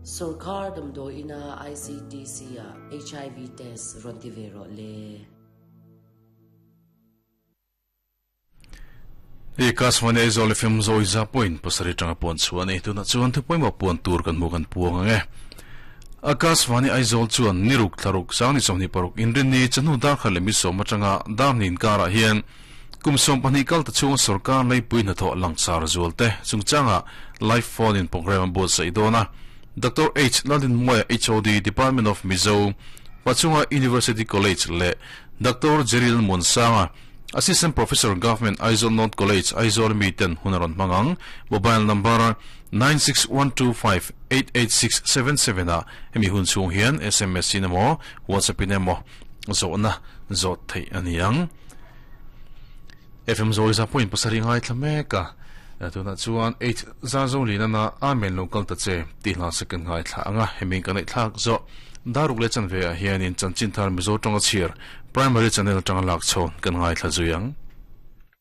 Sorkar damdawiina ICTC-ah HIV test rawn ti ve rawh le. I Akashvani Aizawl FM zawi za point pasarih tanga puan chhuah a ni. Tunah chuan thu pawimawh puan tur kan hmu kan puang ang e. Akashvani Aizawl chuan niruk thlaruk sangni 26 inrinni chahnu darkhat leh mi sawm atanga darhnin karah hian kum 12 kal ta chhunga sorkar leipui hnathawh langsar zual te chungchanga live phone in program a buatsaih dawn a. Doctor H Lalrinmuaia HOD Department of Mizo Pachunga University College leh Doctor Jeril Muansanga Assistant Professor Government Aizawl North College Aizawl mi ten hun a rawn hmang ang. Mobile number 9612588677 ah hemi hun chhung hian sms in emaw WhatsApp in emaw zawhna zawt theih a ni ang. FM zawi za pawhin pasarih ngaithla mek a, tunah chuan H zar zo lin ana Amen lo kal ta che tih hla second ngaithla ang a, hemi kan ngaihthlak zawh daruk leh chanve ah hianin chanchin thar Mizo tawnga chhiar Primary channel atanga lak chhawn kan ngaithla zui ang.